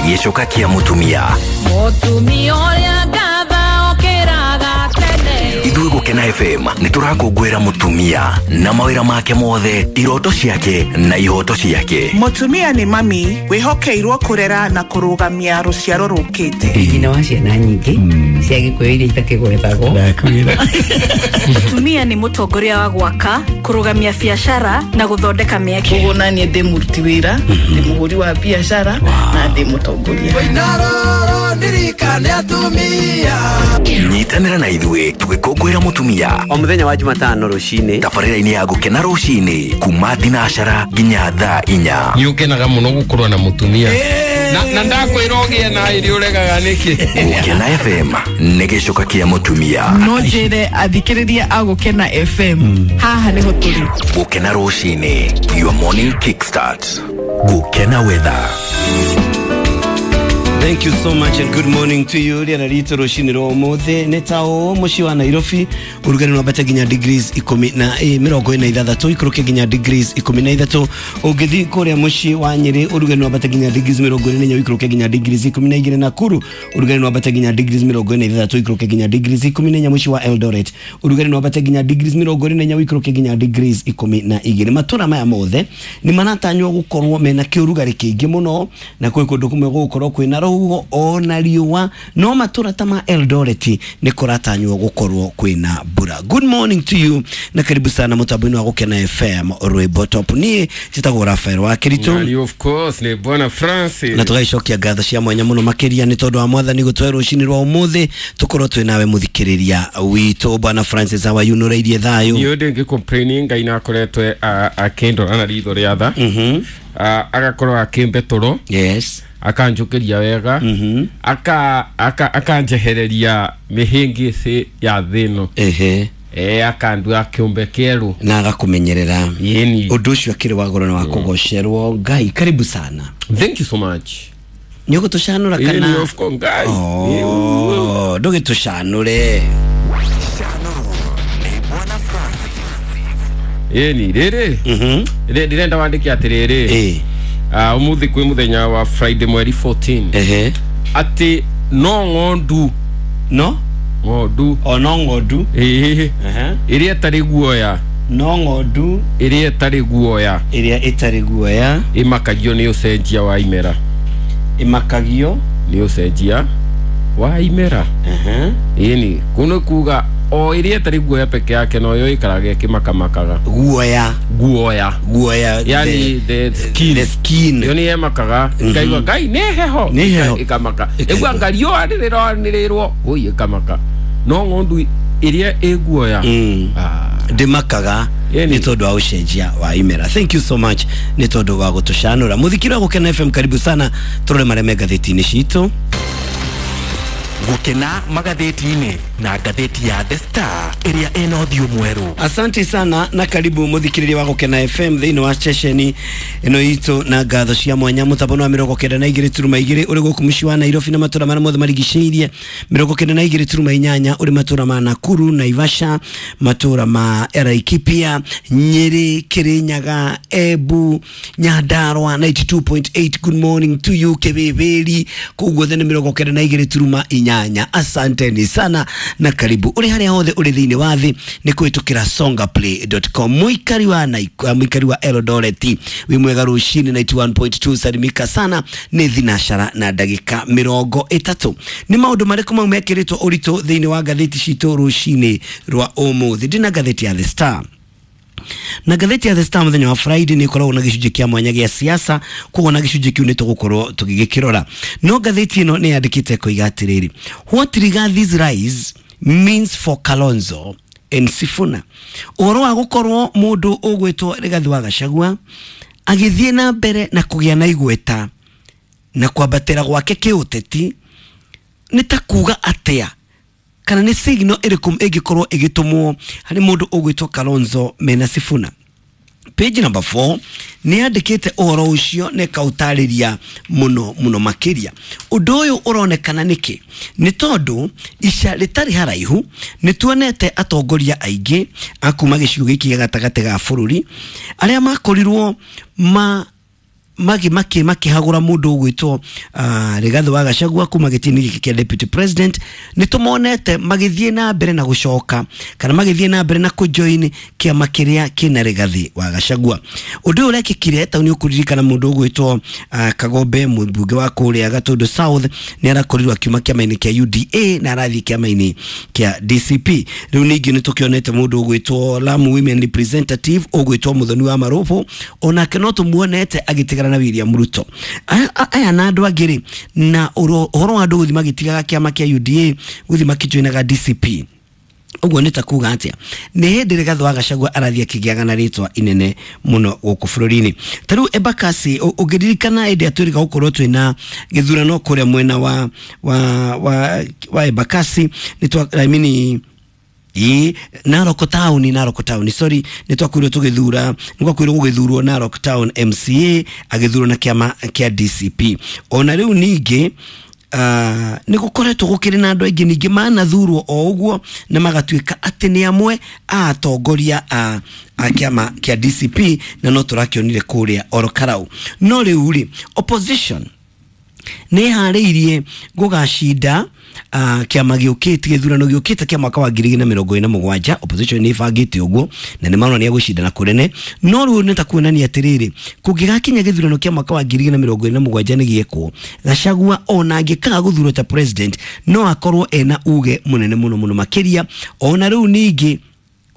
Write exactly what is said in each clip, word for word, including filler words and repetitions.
Gĩcoka kĩa mũtumia. Mũtumia ũrĩa ngatha okĩraga tene. Ithuĩ Gũkena F M nĩ tũrakũngũĩra mũtumia na mawĩra make mothe, iroto ciake na ihoto ciake. Mũtumia nĩ mami wĩhokeirwo kũrera na kũrũgamia rũciaro rũkĩte. Nyina wa ciana nyingĩ cia Gĩkũyũ iria itakĩgwetagwo. Mũtumia nĩ mũtongoria wa gwaka, kũrũgamia biacara na gũthondeka mĩeke. Koguo naniĩ ndĩ mũruti wĩra, ndĩ mũhũri wa biacara na ndĩ mũtongoria. Nyitanĩra na ithuĩ tũgĩkũngũĩra mũtumia o mũthenya wa Jumatano rũcinĩ tabarĩra-inĩ ya Gũkena rũcinĩ kuma thinacara nginya thaa inya. Nĩ ũkenaga mũno gũkorwo na mũtumia na na ndakwĩra ũgĩe na irio ũregaga nĩkĩ. Gũkena F M nĩ gĩcoka kĩa mũtumia. No njĩre athikĩrĩria a Gũkena F M haha nĩho tũrĩ. Gũkena rũcinĩ, your morning kickstart. Gũkena weather. Thank you so much and good morning to you. Rĩera ritũ rũcinĩ rwa ũmũthĩ nĩ ta ũũ mũciĩ wa Nairobi ũrugarĩ no wambate nginya degrees ikũmi na mĩrongo ĩna ithathatũ ikũrũke nginya degrees ikũmi na ithatũ. Ũngĩthiĩ kũrĩa mũciĩ wa Nyĩrĩ ũrugarĩ no wambate nginya degrees mĩrongo ĩrĩ na inya ũikũrũke nginya degrees ikũmi na igĩrĩ. Nakuru ũrugarĩ no wambate nginya degrees mĩrongo ĩna ithathatũ ũikũrũke nginya degrees ikũmi na inya. Mũciĩ wa Eldoret ũrugarĩ no wambate nginya degrees mĩrongo ĩrĩ na inya ũikũrũke nginya degrees ikũmi na igĩrĩ. Matũra maya mothe nĩ maratanywo gũkorwo mena kĩũrugarĩ kĩingĩ mũno na kwĩ kũndũ kũmwe gũgũkorwo kwĩna rũhuho ona riũa, no matũra ta ma Eldoret nĩ kũratanywo gũkorwo kwĩna mbura. Good morning to you na karibu sana mũtambo-inĩ wa Gũkena F M rwĩmbo top. Niĩ njĩtagwo Rafael wa Kĩritũ. Of course nĩ Bwana Francis. Na tũgaicokia ngatho cia mwanya mũno makĩria nĩ tondũ wa mwathani gũtũhe rũcinĩ rwa ũmũthĩ tũkorwo twĩ nawe mũthikĩrĩria witũ. Bwana Francis, how are you? Nũrairie thayũ? Niĩ ndĩngĩ complain, Ngai nakoretwe akĩndora na ritho rĩa tha, agakorwo akĩmbe toro. Yes. Akanjũkĩria wega, aka aka akanjehereria mĩhĩngĩcĩ ya thĩ ĩno. Ehe. Eh akandua kĩũmbe kĩerũ na agakũmenyerera. Yeni. Ũndũ ũcio akĩrĩ wa goro na wa kũgocerwo Ngai. Karibu sana. Thank you so much. Nĩ ũgũtũcanũra kana? Yeni, of course, Ngai. Oh, ndũgĩtũcanũre. Yeni, rĩrĩ. Mhm. Ndĩrenda wandĩke atĩrĩrĩ. Eh. Uh, umuthi kwĩ mũthenya wa Friday mweri fourteen. Ehe. Atĩ no ng'ondu. No? Ng'ondu. O no ng'ondu. Ehe. Ehe. Ĩrĩa ĩtarĩ guoya. No ng'ondu. Ĩrĩa ĩtarĩ guoya. Ĩrĩa ĩtarĩ guoya. Ĩmakagio nĩ ũcenjia wa imera. Ĩmakagio nĩ ũcenjia wa imera. Ehe. Ĩni, kũu kuga o ĩrĩa ĩtarĩ guoya peke yake no yo ĩikaraga ĩkĩmakamakaga. Guoya. Guoya. Guoya. Yani the skin. The skin. Yo nĩ ĩmakaga. Ĩkaigua Ngai nĩ heho. Nĩ heho. Ĩkamaka. Ĩgua nga riũa rĩrĩranĩrĩrwo. Oi ĩkamaka. No ng'ondu ĩrĩa ĩ guoya. Ndĩmakaga nĩ tondũ wa ũcenjia wa imera. Thank you so much nĩ tondũ wa gũtũcanũra. Mũthikĩrĩria wa Gũkena F M, karibu sana tũrore marĩa me ngathĩti-inĩ citũ. Gũkena magathĩti-inĩ na ngathĩti ya The Star ĩrĩa ĩna ũthiũ mwerũ. Asante sana na karibu mũthikĩrĩria wa Gũkena F M thĩinĩ wa ceceni ĩno itũ na ngatho cia mwanya mũtambo wa mĩrongo kenda na igĩrĩ turuma igĩrĩ ũrĩ gũkũ mũciĩ wa Nairobi na matũra marĩa mothe marigicĩirie, mĩrongo kenda na igĩrĩ turuma inyanya ũrĩ matũra ma Nakuru, Naivasha, matũra ma Laikipia, Nyĩrĩ, Kĩrĩnyaga, Embu, Nyandarua ninety two point eight. Good morning to you Kĩbĩbĩri, kũu guothe nĩ mĩrongo kenda na igĩrĩ turuma inyanya. Asanteni sana na karibu uri haria hothe uri thiini wa thi ni kwitukira songaplay dot com. Muikari wa Naikuru, muikari wa Eldoret wi mwega rucini ninety one point two. Salimika sana ni thinashara na ndagika mirongo itatu. Ni maundu mariku mau mekiritwo uritu thiini wa ngathiti citu rucini rwa umuthi? Ndina ngathiti ya The Star na ngathĩti ya The Star mũthenya wa Friday nĩ ĩkoragwo na gĩcunjĩ kĩa mwanya gĩa siasa, koguo na gĩcunjĩ kĩu nĩ tũgũkorwo tũgĩgĩkĩrora. No ngathĩti ĩno nĩ yandĩkĩte koiga atĩrĩrĩ, what Rigathi's rise means for Kalonzo and Sifuna. Ũhoro wa gũkorwo mũndũ ũgwĩtwo Rigathi wa Gachagua agĩthiĩ na mbere na kũgĩa na igweta na kwambatĩra gwake kĩũteti nĩ ta kuga atĩa, kana nĩ signal ĩrĩkũ ĩngĩkorwo ĩgĩtũmwo harĩ mũndũ ũgwĩtwo Kalonzo mena Sifuna. Page number four nĩ yandĩkĩte ũhoro ũcio na ĩkaũtarĩria mũno mũno makĩria. Ũndũ ũyũ ũronekana nĩkĩ? Nĩ tondũ ica rĩtarĩ haraihu nĩ tuonete atongoria aingĩ a kuma gĩcigo gĩkĩ gĩa gatagatĩ ga bũrũri arĩa makorirwo ma magi maki makihagura mundu ugwitwo uh, Rigathi wa Gachagua kuma gĩtĩ-inĩ gĩkĩ kĩa deputy president. Nĩ tũmonete magĩthiĩ na mbere na gũcoka kana magĩthiĩ na mbere na kũjoin kĩama kĩrĩa kĩna Rigathi wa Gachagua. Ũndũ ũyũ ũrekĩkire ta nĩ ũkũririkana mũndũ ũgwĩtwo uh, Kagombe mũmbunge wa kũrĩa Gatundu South nĩ arakorirwo akiuma kĩama-inĩ kĩa U D A na arathiĩ kĩama-inĩ kĩa D C P. Rĩu ningĩ nĩ tũkĩonete mũndũ ũgwĩtwo Lamu Women Representative ũgwĩtwo Muthoni wa Marubu onake no tũmuonete agĩtigana na William Ruto. Aya na andũ angĩ rĩ, na ũhoro wa andũ gũthiĩ magĩtigaga kĩama kĩa U D A gũthiĩ makĩjoinaga D C P. Ũguo nĩ ta kuga atĩa? Nĩ hĩndĩ Rigathi wa Gachagua arathiĩ akĩgĩaga na rĩtwa inene mũno gũkũ bũrũri-inĩ. Ta rĩu Embakasi, ũngĩririkana hĩndĩ ĩrĩa twĩrĩga gũkorwo twĩna gĩthurano kũrĩa mwena wa wa wa wa Embakasi, nĩ twa I mean ii Narok Town, Narok Town, sorry, nĩ twakwĩrwo tũgĩthura, nĩ gwakwĩrwo gũgĩthurwo Narok Town M C A agĩthurwo na kĩama kĩa D C P. Ona rĩu ningĩ Uh, nĩ gũkoretwo gũkĩrĩ na andũ aingĩ ningĩ manathurwo o ũguo na magatuĩka atĩ nĩ amwe a atongoria a, a kĩama kĩa D C P, na no tũrakĩonire kũrĩa Ol Kalou. No rĩu rĩ, opposition nĩ ĩharĩirie gũgacinda uh, kĩama gĩũkĩte, gĩthurano gĩũkĩte kĩa mwaka wa ngiri igĩrĩ na mĩrongo ĩna na mũgwanja. Opposition nĩ ĩbangĩte ũguo na nĩ maronania gũcindana kũnene, no rĩu nĩ ta kuonania atĩrĩrĩ, kũngĩgakinya gĩthurano kĩa mwaka wa ngiri igĩrĩ na mĩrongo ĩna na mũgwanja nĩ gĩekwo, Gachagua ona angĩkaga gũthurwo ta president no akorwo ena uge mũnene mũno mũno makĩria. Ona rĩu ningĩ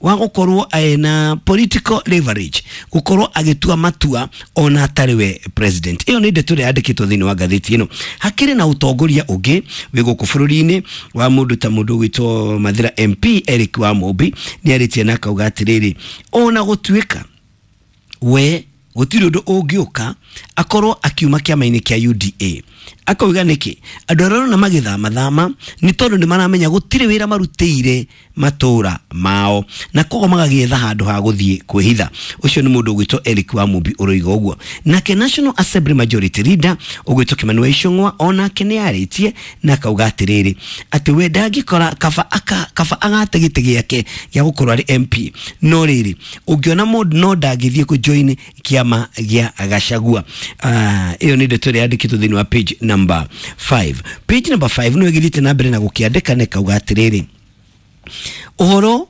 wa gũkorwo ena political leverage gũkorwo agĩtua matua ona atarĩ we president. Ĩyo nĩ ndeto ĩrĩa yandĩkĩtwo thĩinĩ wa ngathĩti ĩno. Hakĩrĩ na ũtongoria ũngĩ wĩ gũkũ bũrũri-inĩ wa mũndũ ta mũndũ ũgwĩtwo Mathira M P Eric Wamũmbi, nĩ arĩtie na akauga atĩrĩrĩ, ona gũtuĩka we gũtirĩ ũndũ ũngĩũka akorwo akiuma kĩama-inĩ kĩa U D A. Akauga nĩkĩ andũ arĩa arona magĩthamathama nĩ tondũ nĩ maramenya gũtirĩ wĩra marutĩire matũra mao na koguo magagĩetha handũ ha gũthiĩ kwĩhitha. Ũcio nĩ mũndũ ũgwĩtwo Eric Wamũmbi ũroiga ũguo. Nake National Assembly Majority Leader ũgwĩtwo Kimani wa Ichung'wa onake nĩ arĩtie na akauga atĩrĩrĩ, atĩ we ndangĩkora kaba aka kaba agate gĩtĩ gĩake gĩa gũkorwo arĩ M P, no rĩrĩ ũngĩona mũndũ no ndangĩthiĩ kũjoin kĩama gĩa Gachagua. Ĩyo nĩ ndeto ĩrĩa yandĩkĩtwo thĩinĩ wa page number five. Page number five no ĩgĩthiĩte na mbere na gũkĩandĩka na ĩkauga atĩrĩrĩ, ũhoro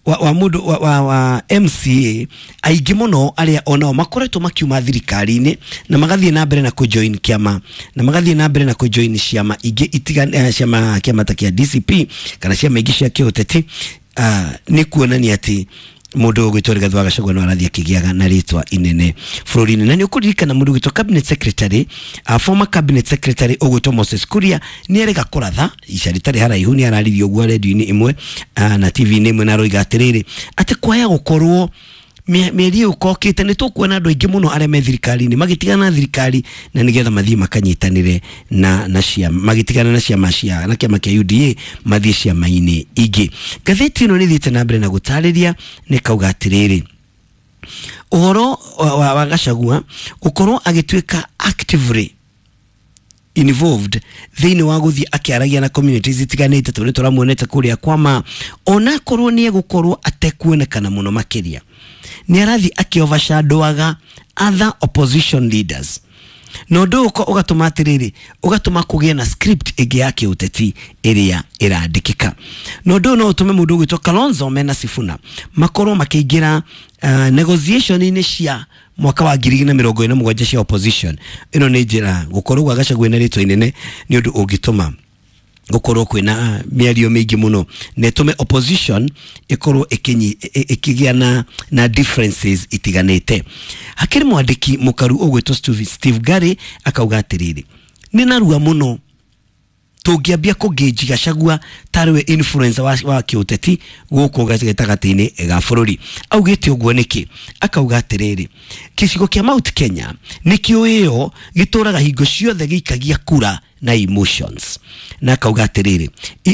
wa, wa mũndũ wa, wa, wa M C A aingĩ mũno arĩa onao makoretwo makiuma thirikari-inĩ na magathiĩ na mbere na kũjoin kĩama na magathiĩ na mbere na kũjoin ciama ingĩ itiga ciama kĩama ta kĩa D C P kana ciama ingĩ cia kĩũteti, uh, nĩ kuonania atĩ mũndũ ũgwĩtwo Rigathi wa Gachagua no arathiĩ akĩgĩaga na rĩtwa inene bũrũri-inĩ. Na nĩ ũkũririkana mũndũ ũgwĩtwo cabinet secretary, uh, former cabinet secretary ũgwĩtwo Moses Kuria nĩ erĩga kũratha ica rĩtarĩ haraihu, nĩ araririe ũguo redio-inĩ ĩmwe uh, na T V-inĩ ĩmwe, na aroiga atĩrĩrĩ atĩ kwaya gũkorwo mĩeri ĩyo ũkokĩte nĩ tũkuona andũ aingĩ mũno arĩa me thirikari-inĩ magĩtigana na thirikari na nĩgetha mathiĩ makanyitanĩre na na ciama, magĩtigana na ciama cia na kĩama kĩa U D A mathiĩ ciama-inĩ ingĩ. Ngathĩti ĩno nĩ ĩthiĩte na mbere na gũtarĩria nĩ kauga atĩrĩrĩ, ũhoro wa, wa, wa Gachagua gũkorwo agĩtuĩka actively involved thĩinĩ wa gũthiĩ akĩaragia na communities itiganĩte tondũ tũramuonete kũrĩa kwama, onakorwo nĩ egũkorwo atekuonekana mũno makĩria, nĩ arathiĩ akĩ-overshadowaga other opposition leaders, na ũndũ ũyũ ũgatũma atĩrĩrĩ, ũgatũma kũgĩe na script ĩngĩ ya kĩũteti ĩrĩa ĩrandĩkĩka. Na ũndũ ũyũ no ũtũme mũndũ ũgwĩtwo Kalonzo mena Sifuna makorwo makĩingĩra uh, negotiation-inĩ cia mwaka wa ngiri igĩrĩ na mĩrongo ĩna na mũgwanja cia opposition. Ĩno nĩ njĩra gũkorwo gwa Gachagua na rĩtwa inene nĩ ũndũ ũngĩtũma gũkorwo kwĩna mĩario mĩingĩ mũno na ĩtũme opposition ĩkorwo ĩkĩgĩa na, na differences itiganĩte. Hakĩrĩ mwandĩki mũkaru ũgwĩtwo Steve Gary akauga atĩrĩrĩ, nĩ narua mũno tũngĩambia kũngĩnji Gachagua tarĩ we influencer wa, wa kĩũteti gũkũ gatagatĩ-inĩ ga bũrũri. Augĩte ũguo nĩkĩ? Akauga atĩrĩrĩ, gĩcigo kĩa Mount Kenya nĩkĩo ĩyo gĩtũraga hingo ciothe gĩikagia kura na emotions, na akauga atĩrĩrĩ,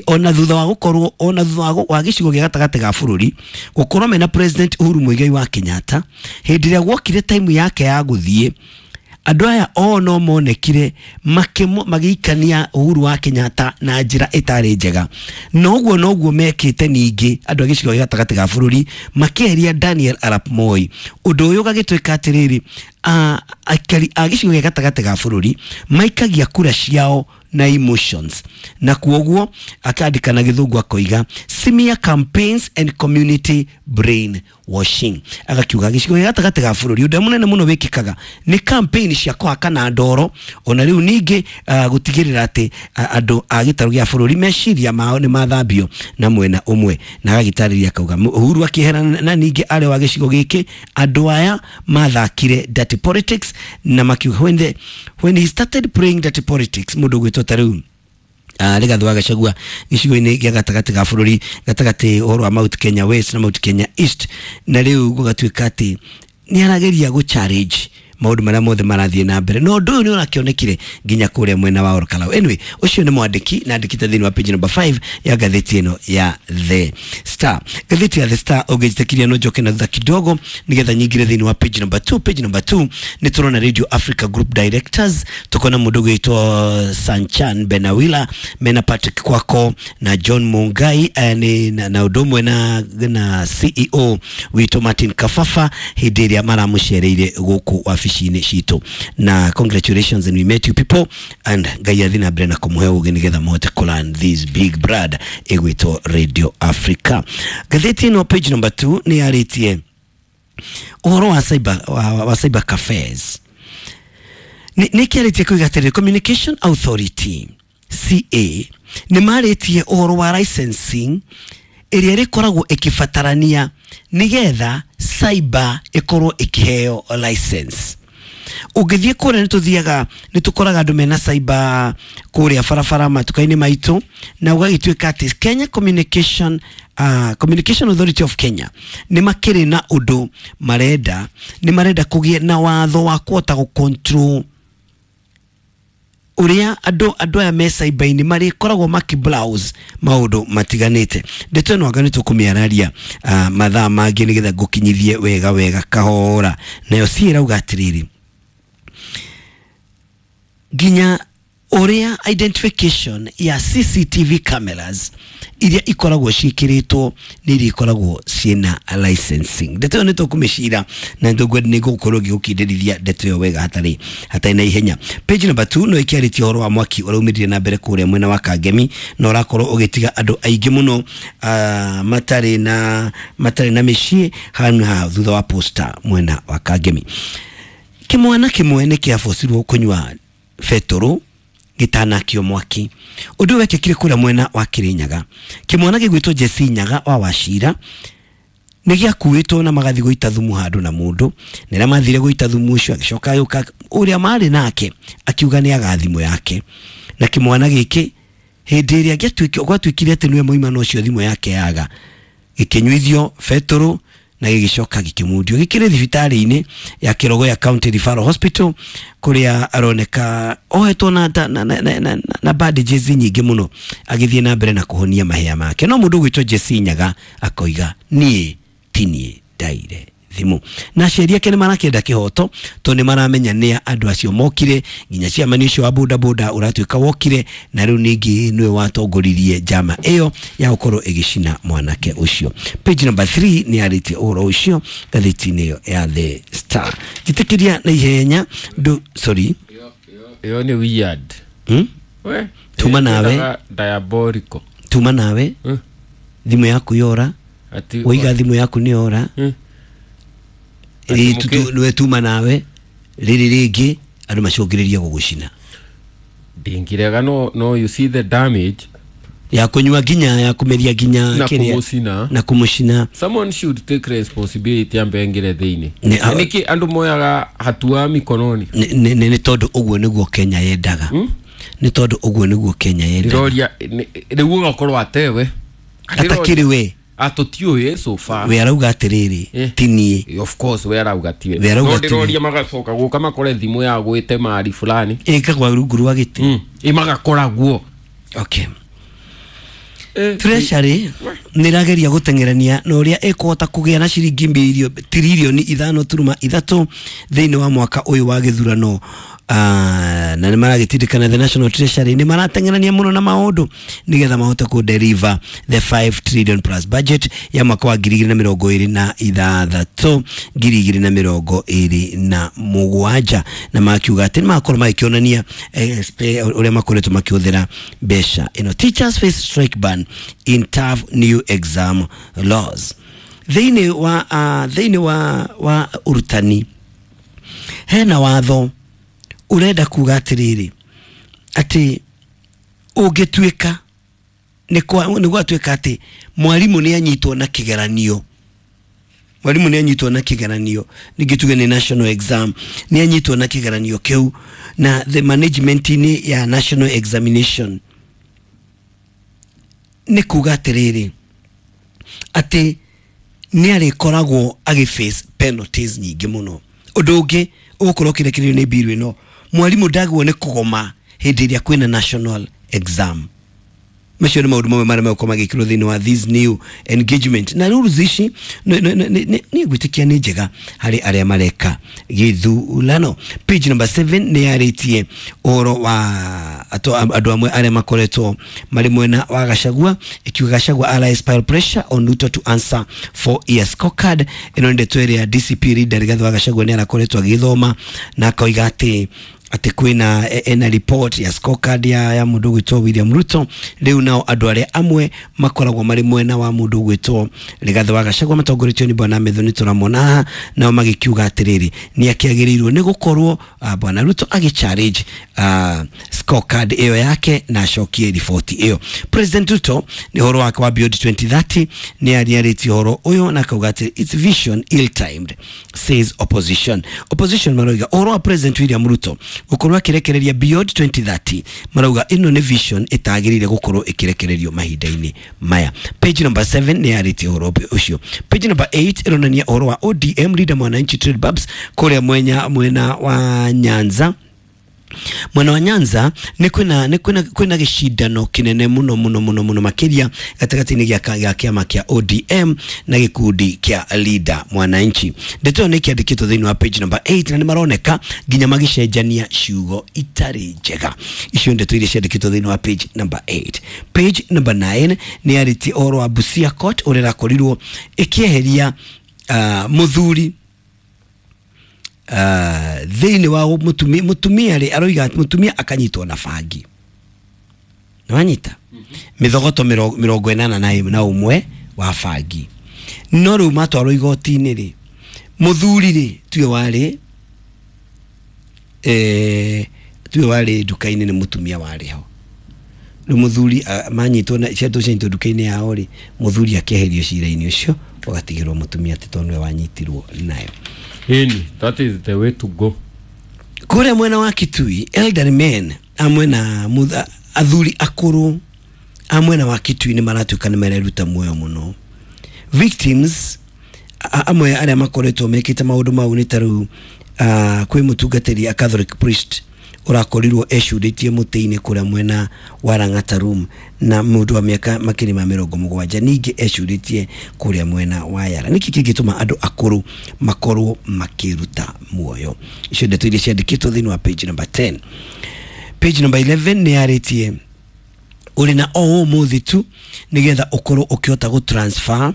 ona thutha wa gũkorwo ona thutha wa gĩcigo gĩa gatagatĩ ga bũrũri gũkorwo mena President Uhuru Muigai wa Kenyatta, hĩndĩ ĩrĩa gwokire time yake ya gũthiĩ Andũ aya o no monekire magĩikania Uhuru wa Kenyatta na njĩra ĩtarĩ njega. Na ũguo noguo mekĩte ningĩ andũ a gĩcigo gĩa gatagatĩ ga bũrũri makĩeheria Daniel Arap Moi. Ũndũ ũyũ ũgagĩtuĩka atĩrĩrĩ, aikari a gĩcigo gĩa gatagatĩ ga bũrũri maikagia kura ciao na emotions, na kuoguo akandika na gĩthũngũ akoiga smear campaigns and community brain washing. Agakiuga gĩcigo gĩa gatagatĩ ga bũrũri ũndũ mũnene mũno wĩkĩkaga nĩ campaign cia kũhakana ndoro, ona rĩu ningĩ uh, gũtigĩrĩra atĩ uh, andũ a gĩtarũ gĩa bũrũri meciria mao nĩ mathambio na mwena ũmwe. Na agagĩtarĩria akauga Uhuru akĩehera na ningĩ arĩ wa gĩcigo gĩkĩ andũ aya mathakire dirty politics, na makiuga when, the, when he started playing dirty politics mũndũ ũgwĩtwo ta rĩu Uh, Rigathi wa Gachagua gĩcigo-inĩ gĩa gatagatĩ ga bũrũri gatagatĩ ũhoro wa Mount Kenya West na Mount Kenya East, na rĩu gũgatuĩka atĩ nĩ arageria gũ challenge maũndũ marĩa mothe marathiĩ na mbere, no ũndũ ũyũ nĩ ũrakĩonekire nginya kũrĩa mwena wa Olkalau. Anyway, ũcio nĩ mwandĩki na andĩkĩte thĩinĩ wa page number five ya ngathĩti ĩno ya The Star. Ngathĩti ya The Star ũngĩnjĩtĩkĩria no njoke na thutha kidogo nĩgetha nyingĩre thĩinĩ wa page number two. Page number two nĩ tũrona Radio Africa Group Directors, tukona mũndũ ũgwĩtwo Sanchan Benawila mena Patrick Kwako na John Mungai eh, ni, na, na ũndũ ũmwe na, na C E O witũ Martin Kafafa hĩndĩ ĩrĩa maramũcereire gũkũ wabici-inĩ citũ. Na congratulations and we met you people, and Ngai athi na mbere na kũmũhe ũgĩ nĩgetha mũhote kũ this big brand ĩgwĩtwo Radio Africa. Ngathĩti ĩno page number two nĩ yarĩtie ũhoro wa cyber, wa, wa cyber cafes. Nĩ kĩarĩtie kuiga atĩrĩrĩ, Communication Authority C A nĩ marĩtie ũhoro wa licensing ĩrĩa ĩrĩkoragwo ĩkĩbatarania nĩgetha cyber ĩkorwo ĩkĩheo license. Ũngĩthiĩ kũrĩa nĩ tũthiaga nĩ tũkoraga andũ mena cyber kũrĩa barabara matuka-inĩ maitũ, na ũgagĩtuĩka atĩ Kenya Communication uh, Communication Authority of Kenya nĩ makĩrĩ na ũndũ marenda, nĩ marenda kũgĩe na watho wa kũhota gũ control ũrĩa andũ andũ aya me cyber-inĩ marĩkoragwo makĩ browse maũndũ matiganĩte. Ndeto ĩno anga nĩ tũkũmĩararia uh, mathaa mangĩ nĩgetha ngũkinyithie wega wega kahora. Nayo si ĩrauga atĩrĩrĩ, nginya ũrĩa identification ya C C T V cameras iria ikoragwo ciĩkĩrĩtwo nĩ iria ikoragwo ciĩna licensing. Ndeto ĩyo nĩ tũkũmĩcira na nĩ ngũkorwo ngĩgũkindĩrithia ndeto ĩyo wega hatarĩ hatarĩ na ihenya. Page number two no ĩkĩarĩtie ũhoro wa mwaki ũraumĩrire na mbere kũrĩa mwena wa Kangemi na ũrakorwo ũgĩtiga andũ aingĩ mũno uh, matarĩ na matarĩ na mĩciĩ hanũ ha thutha wa posta mwena wa Kangemi. Kĩmwana kĩmwe nĩ kĩabocirwo kũnyua betũrũ gĩtanakio mwaki. Ũndũ wekĩkire kũrĩa mwena wa Kirinyaga. Kĩmwana gĩgwĩtwo Jesse Nyaga wa Wachira nĩ gĩakuĩtwo na magathi gũita thumu handũ na mũndũ, na rĩrĩa mathire gũita thumu ũcio agĩcoka agĩũka ũrĩa marĩ nake akiuga nĩ aga thimũ yake, na kĩmwana gĩkĩ hĩndĩ ĩrĩa gĩatuĩkire gwatuĩkire atĩ nĩwe moimana ũcio thimũ yake yaga, gĩkĩnyuithio betũrũ na gĩgĩcoka gĩkĩmundio. Gĩkĩrĩ thibitarĩ-inĩ ya Kĩrogoya County Referral Hospital kũrĩa aroneka ohetwo na, na, na, na, na, na bandages nyingĩ mũno agĩthiĩ na mbere na kũhonia mahĩa make. No mũndũ ũgwĩtwo Jesse Nyaga akoiga niĩ ti niĩ ndaire thimũ, na aciari ake nĩ marakĩenda kĩhoto tondũ nĩ maramenya nĩa andũ acio mokire, nginya ciamani ũcio wa boda boda ũratuĩka wokire, na rĩu ningĩ nĩwe watongoririe njama ĩyo ya gũkorwo ĩgĩcina mwanake ũcio. Page number three nĩ yarĩtie ũhoro ũcio ngathĩti-inĩ ĩyo ya The Star. Njĩtĩkĩria na ihenya ndũ sorry ĩyo nĩ weird. Hmm? We tuma nawe diabolical, tuma nawe hmm? Thimũ yaku yora, waiga thimũ yaku nĩ yora, hmm? Niwe tuma nawe rĩrĩ rĩngĩ andũ macũngĩrĩria gũgũcina. Ndingirega no, no you see the damage ya kũnyua nginya ya kũmeria nginya na kĩrĩa kũmũcina, na kũmũcina. Someone should take responsibility ambe engire thĩinĩ. Nĩ- Nĩkĩ andũ moyaga hatua mikononi? Nĩ nĩ tondũ ũguo nĩguo Kenya yendaga, nĩ tondũ ũguo nĩguo Kenya yendaga. Ndĩroria rĩu ũgakorwo atewe Atakĩrĩ we atũtiũĩ so far. We arauga atĩrĩrĩ Eh. ti niĩ. Of course we arauga tiwe. We arauga No tiwe. ndĩroria magacoka gũka makore thimũ ya gwĩte mari fulani Ĩkagwa rungu rwa gĩtĩ. mm. Ĩ magakora guo. Okay. Treasury nä rageria gå teng'erania na å rä a ĩkũhota kũgĩa na ciringi mbirio tiririoni ithano turuma ithatũ thĩinĩ wa mwaka ũyũ wa gĩthurano. Uh, na nĩ maragĩtindĩkana the National Treasury nĩ marateng'erania mũno na maũndũ nĩgetha mahote kũ deliver the five trillion plus budget ya mwaka wa ngiri igĩrĩ na mĩrongo ĩrĩ na ithathatũ ngiri igĩrĩ na mĩrongo ĩrĩ na mũgwanja, na makiuga atĩ nĩ makorwo magĩkĩonania eh, ũrĩa makoretwo makĩhũthĩra mbeca ĩno. Teachers face strike ban in tough new exam laws. Thĩinĩ wa uh, thĩinĩ wa wa ũrutani hena watho urenda kuga atiriri ati ungituika ni kwa ni gwatuika ati mwalimu ni anyitwo na kigeranio, mwalimu ni anyitwo na kigeranio ningituge ni national exam ni anyitwo na kigeranio kiu na the management ni ya national examination ni kuga atiriri ati ni arikoragwo agiface penalties nyingi muno. Undu ungi ugukorwo kirekererio ni biru ino, mwalimu ndagwo ni kugoma hindi iria kwina national exam. Macio nĩ maũndũ mamwe marĩa megũkorwo magĩkĩrwo thĩinĩ wa this new engagement na rules ici nĩ ngwĩtĩkia nĩ njega harĩ arĩa mareka gĩthurano. Page number seven nĩ yarĩtie ũhoro wa andũ amwe arĩa makoretwo marĩ mwena wa Gachagua, ikiuga Gachagua allies pile pressure on Ruto to answer for year scorecard. Ĩno nĩ ndeto ĩrĩa D C P leader Rigathi wa Gachagua nĩ arakoretwo agĩthoma na akoiga atĩ ati kwina ena report ya scorecard ya, ya mundu gwitwo William Ruto. Riu nao andu aria amwe makoragwo mari mwena wa mundu gwitwo Rigathi wa Gachagua matongoretio ni bwana Methoni turamona, nao magikiuga atiriri ni akiagiriirwo ni gukorwo uh, bwana Ruto agi challenge uh, scorecard iyo yake na acokie report iyo. President Ruto ni horo wake wa Beyond twenty thirty ni ariarĩtie horo uyu na akauga ati its vision ill timed says opposition. Opposition marauga horo wa President William Ruto gukorwo akirekereria Beyond twenty thirty marauga ino ni vision itagirire gukorwo ikirekererio mahinda-inĩ maya. Page number seven ni yarĩtie horo ucio. Page number eight ironania horo wa O D M leader Mwananchi Trade Babs kuria mwenya mwena wa Nyanza. Mwena wa Nyanza ni kwina ni kwina kwina gicindano kinene muno muno muno muno makiria gatagati-inĩ gĩa kĩama kĩa O D M na gĩkundi kĩa leader Mwananchi. Ndeto ĩyo nĩ kĩandĩkĩtwo thĩinĩ wa page number eight na nĩ maroneka nginya magĩcenjania ciugo itarĩ njega. Icio ndeto iria ciandĩkĩtwo thĩinĩ wa page number eight. Page number nine nĩ yarĩtie ũhoro wa Busia Court ũrĩa ĩrakorirwo ĩkĩeheria uh, mũthuri Uh, thĩinĩ wa mutumia mutumia rĩ aroiga mutumia akanyitwo na bangi nĩwanyita mĩthogoto mĩrongo ĩnana na na ũmwe wa bangi, no rĩu matwarwo igoti-inĩ rĩ mũthuri rĩ tuwe warĩ eh tuwe warĩ nduka-inĩ nĩ mũtumia warĩ ho. Rĩu mũthuri manyitwo na ciatũ cianyitwo nduka-inĩ yao rĩ mũthuri akĩeherio cira-inĩ ũcio ũgatigĩrwo mũtumia atĩ tondũ nĩwe wanyitirwo nayo. Hini, that is the way to go. Kure mwena wa Kitui, elderly men amwe na athuri akuru a mwena wa Kitui ni maratuĩka nĩ mareruta muoyo mũno. Victims amwe arĩa makoretwo mekĩte maũndũ mau nĩ ta rĩu kwĩ mũtungatĩri a Catholic priest ũrakorirwo ecurĩtie mũtĩ-inĩ kũrĩa mwena wa Lang'ata Room na mũndũ wa mĩaka makĩria ma mĩrongo mũgwanja ningĩ ecurĩtie kũrĩa mwena wa Yara. Nĩkĩ kĩngĩtũma andũ akũrũ makorwo makĩruta muoyo? Icio ndeto iria ciandĩkĩtwo thĩinĩ wa page number ten. Page number eleven nĩ yarĩtie ũrĩ na o ũmũthĩ tu nĩgetha ũkorwo ũkĩhota gũ transfer.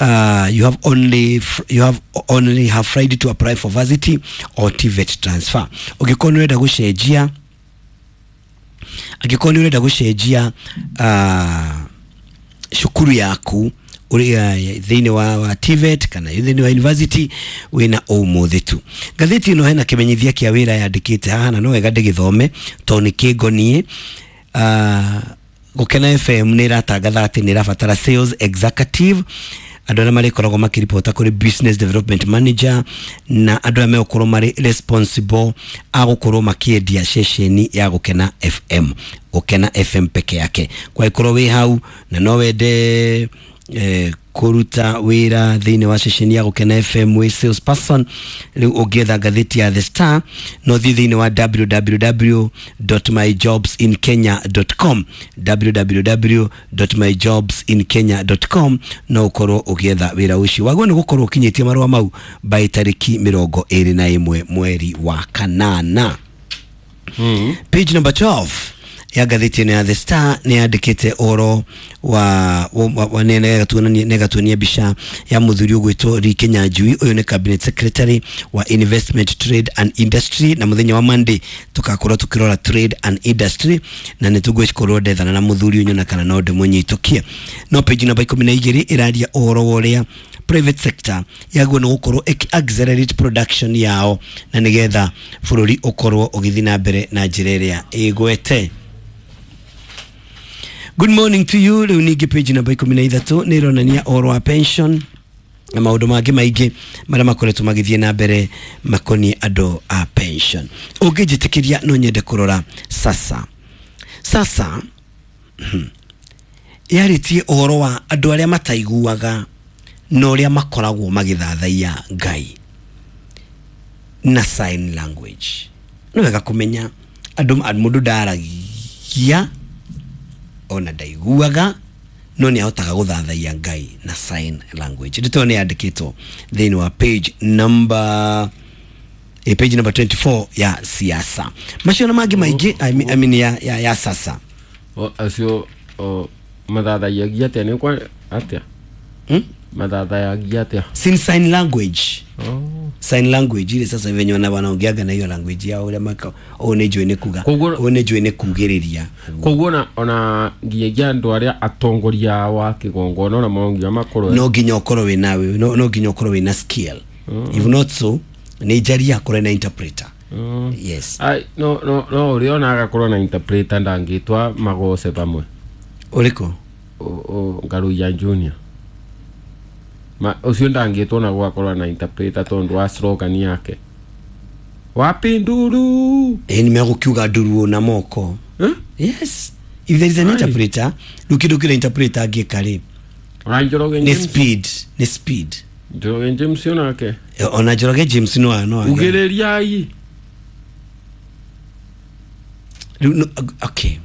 Uh, you have only you have only have Friday to apply for varsity or T V E T transfer. Ũngĩkorwo nĩ ũrenda gũcenjia angĩkorwo nĩ ũrenda gũcenjia uh, cukuru yaku ũrĩa thĩinĩ wa, wa T V E T kana thĩinĩ wa university wĩna ũmũthĩ tu. Ngathĩti ĩno hena kĩmenyithia kĩa wĩra yandĩkĩte haha na no wega ndĩgĩthome tondũ nĩ kĩngoniĩ. Uh, Gũkena F M nĩ ĩratangatha atĩ nĩ ĩrabatara sales executive, andũ arĩa marĩkoragwo makĩripota kũrĩ business development manager na andũ arĩa megũkorwo marĩ responsible a gũkorwo makĩendia ceceni ya Gũkena F M, Gũkena F M peke yake. Kwa ikorwo wĩ hau na no wende eh, kũruta wĩra thĩinĩ wa ceceni ya Gũkena F M wĩ salesperson. Rĩu ũngĩetha ngathĩti ya The Star no thiĩ thĩinĩ wa w w w dot my jobs in kenya dot com, w w w dot my jobs in kenya dot com, no ũkorwo ũgĩetha wĩra ũcio. Wagwo nĩ gũkorwo ũkinyĩtie marũa mau by tarĩki mĩrongo ĩrĩ na ĩmwe mweri wa kanana. Mm. Page number twelve ya ngathĩti ĩno ya The Star nĩ yandĩkĩte ũhoro wa wa nĩgatuonia mbica ya mũthuri ũgwĩtwo Lee Kinyanjui. Ũyũ nĩ cabinet secretary wa investment, trade and industry, na mũthenya wa Monday tũgakorwo tũkĩrora trade and industry, na nĩ tũgũkorwo ndethana na mũthuri ũyũ na kana no ndĩmũnyitũkie. No page namba ikũmi na igĩrĩ ĩraria ũhoro wa ũrĩa private sector yaguo nĩ gũkorwo ĩkĩ accelerate production yao na nĩgetha bũrũri ũkorwo ũgĩthiĩ na mbere na njĩra ĩrĩa ĩgwete. Good morning to you. Rĩu ningĩ page namba ikũmi na ithatũ nĩ ĩronania ũhoro wa pension na maũndũ mangĩ maingĩ marĩa makoretwo magĩthiĩ na mbere makoniĩ andũ a pension. Ũngĩnjĩtĩkĩria no nyende kũrora sasa. Sasa yarĩtie ũhoro wa andũ arĩa mataiguaga na ũrĩa makoragwo magĩthathaiya Ngai na sign language. Nĩ wega kũmenya andũ mũndũ ndaragia ona ndaiguaga no nĩ ahotaga gũthathaiya Ngai na sign language. Ndeto nĩ yandĩkĩtwo thĩinĩ wa page number eh, page number twenty-four ya siasa. Macio na mangĩ maingĩ I mean, I mean ya, ya, ya sasa. O acio o mathathaiyagia atĩa nĩ kwa atĩa? Hmm? Mathathayagia atĩa? Sin sign language. Oh. Sign language ile sasa venye wana wanaongeaga na hiyo language yao ule maka o nĩ njũĩ nĩ kuga o nĩ njũĩ nĩ kugĩrĩria. Koguo na ona nginyagia andũ arĩa atongoria wa kĩgongona ona mongia makorwo no nginya ũkorwo wĩ nawe no no nginya ũkorwo wĩna skill. Mm. If not so nĩ njaria akorwo na interpreter. Mm. Yes. Ai no no no ũrĩa ona agakorwo na interpreter ndangĩtwa magoce pamwe. Ũrĩkũ? O Ngaruiya Junior. Ma ucio ndangĩtwo na gwakorwo na interpreter tondu wa slogan yake wapi nduru eh nimegũkiuga nduru na moko. Eh? Yes, if there is an interpreter rĩu kĩndũ kĩrĩa interpreter angĩka rĩ ona Njoroge ni speed ni speed Njoroge James onake ona Njoroge James no no ugĩrĩriai no, okay,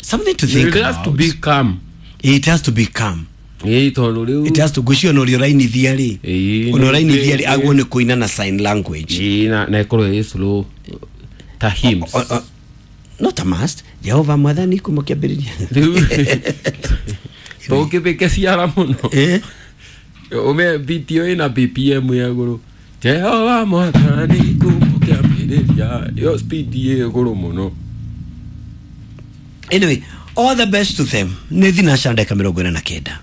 something to think it has about. To be calm. It has to be calm. Ĩĩ tondu rĩu it has to gucio no rio rainithia rĩ ono rainithia rĩ agwo nĩ kũina na sign language. Ĩĩ na na ĩkorwo ĩ slow ta hymns. Not a must. Jehova mwathani kuma kĩambĩrĩria rĩu tũngĩbĩke ciara mũno eh ume video ĩna B P M ya igũrũ Jehova mwathani kuma kĩambĩrĩria yo speed ĩ igũrũ mũno. Anyway, all the best to them. Nĩ thinaca ndagĩka mĩrongo ĩna na kenda.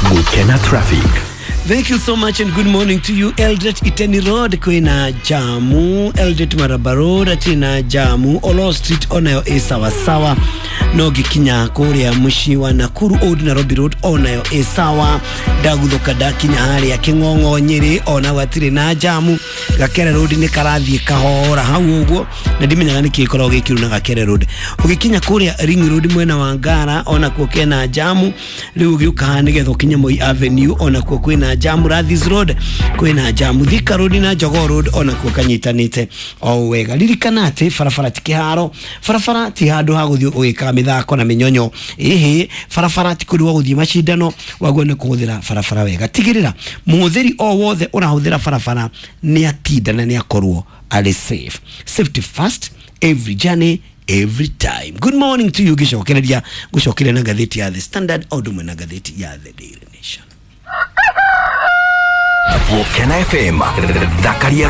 Gukena traffic. Thank you so much and good morning to you. Eldoret Iteni Road kwina jamu, Eldoret Maraba Road atina jamu, Olo Street onayo ĩ sawa sawa, no gikinya kũrĩa mũciĩ wa Nakuru Old Nairobi Road onayo ĩ sawa, ndaguthuka ndakinya harĩa Kĩng'ong'o Nyĩrĩ ona gwatirĩ na jamu, Gakere Road nĩ karathiĩ kahora hau ũguo na ndimenyaga nĩkĩ gĩkoragwo gĩkĩru na Gakere Road. Ũgĩkinya kũrĩa Ring Road mwena wa Ngara onakuo kena jamu, rĩu ũgĩũka nĩgetha ũkinye Moi Avenue onakuo kwĩna jamu, Rathis Road kwĩna jamu, Thika Road na Jogoo Road onakuo kanyitanĩte o wega. Ririkana atĩ barabara ti kĩharo, barabara ti handũ ha gũthiĩ ũgĩkaga mĩthako na mĩnyonyo, ĩhĩ barabara ti kũndũ gwa gũthiĩ macindano, waguo nĩ kũhũthĩra barabara wega. Tigĩrĩra mũhũthĩri o wothe ũrahũthĩra barabara nĩ atinda na nĩ akorwo arĩ safe. Safety first, every journey, every time. Good morning to you. Gĩcokereria gũcokeria na ngathĩti ya The Standard o ũndũ ũmwe na ngathĩti ya The Daily Nation. Gukena F M thakaria.